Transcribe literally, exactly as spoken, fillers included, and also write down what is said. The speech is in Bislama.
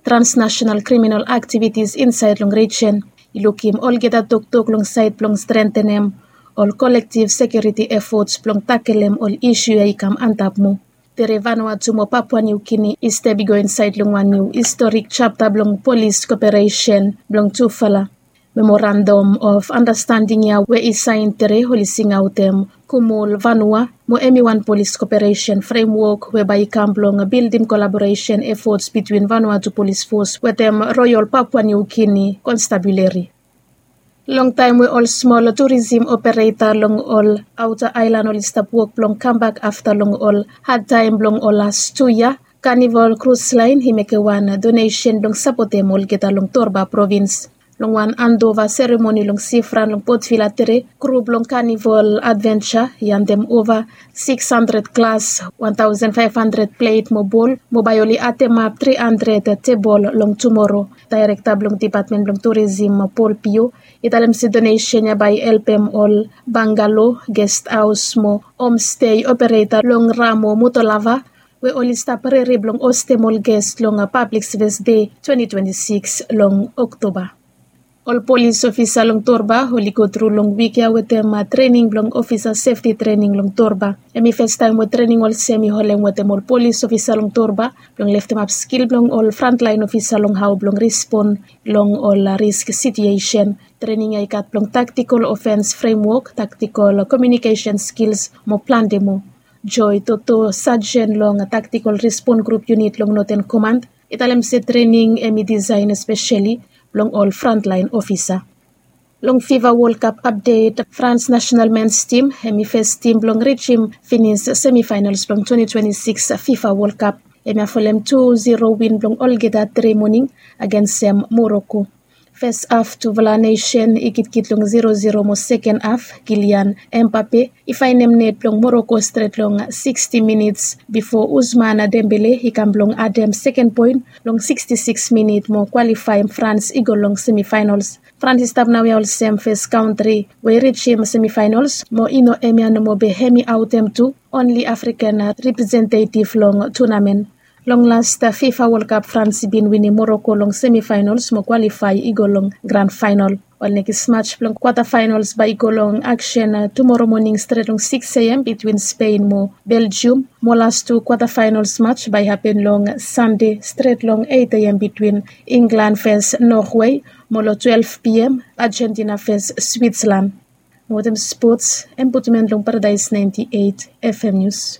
transnational kriminal aktivitis insaed long rijen. I lukim olgeta toktok long saed blong strentenem ol kolektiv sekiuriti efots blong takelem ol isu ya i kam antap moa. Tere Vanuatu mo Papua Niu Gini i step i go insaed long wan niu historik japta blong polis koperesen blong tufala. Memorandum of Andastanding ya we i saen tere oli singaotem Kumul Vanua mo hemi wan polis koperesen fremwok we bae i kam blong bildim kolaboresen efots bitwin Vanuatu Polis Fos wetem Royal Papua Niu Gini Konstabulari. Longtaem we ol smol turisim opereta long ol aota aelan oli stap wok blong kambak afta long ol hadtaem blong ol las tu yia, Kanival Krus Laen i mekem wan donesen blong sapotem olgeta long Torba provins. Long wan andova seremoni long sifran long Potvila tere, kru blong Kanival Advensa i andem ova siks handred glas, wan taosen faef handred plet mo bol mo bae oli atemap tri handred tebol long tumoro. Daerekta blong dipatmen blong turisim, Pol Pio, i talem se donesen ya bae i helpem ol bangalo, gesthaos mo homstei opereta long Ramo Motolava we oli stap rere blong hostem ol ges long Pablik Sevis Dei twenti twenti sikis long Oktoba. Ol polis ofisa long Torba oli gotru long wik ya wetem trening blong ofisa sefti trening long Torba. Hemi fastaem we trening olsem i holem wetem ol polis ofisa long Torba blong leftemap skil blong ol frantlaen ofisa long hao blong respon long ol risk situesen. Trening ya i gat blong taktikol ofens fremwok, taktikol komiunikesen skils mo plante moa. Joy Toto, sajen long taktikol respon grup yunit long Noten Komand, i talem se trening hemi disaen espeseli blong ol frantlaen ofisa. Long Fifa Wol Kap apdet, Frans nasenal mens tim hemi fes tim blong rijim finis semifaenals blong twenti twenti sikis Fifa Wol Kap. Hemia folem tu ziro win blong olgeta tere moning agensem Moroko. Fes haf tufala nesen i gitkit long ziro ziro mo seken haf Kilian Empape i faenem net blong Moroko stret long siksti minits bifo Usman Dembele i kam blong adem seken poen long siksti sikis minit mo kwalifaem Frans i go long semifaenals. Frans i stap naoia olsem fes kantri we i rijim semifaenals mo i no hemia nomo be hemi aotem tu onli Afrikan representetiv long tunamen. Long las Fifa Wol Kap Frans i bin winim Moroko long semifaenals mo kwalifae i go long gran faenal. Ol nekis maj blong kwata faenals bae i go long aksen tumoro moning stret long sikis A M bitwin Spen mo Beljium mo las tu kwata faenals maj bae i hapen long Sande stret long eit A M bitwin Inglan fes Norwe mo long twelef P M Ajentina fes Switslan. Mo wetem spots, hem putum en long Paradaes naenti eit F M Nius.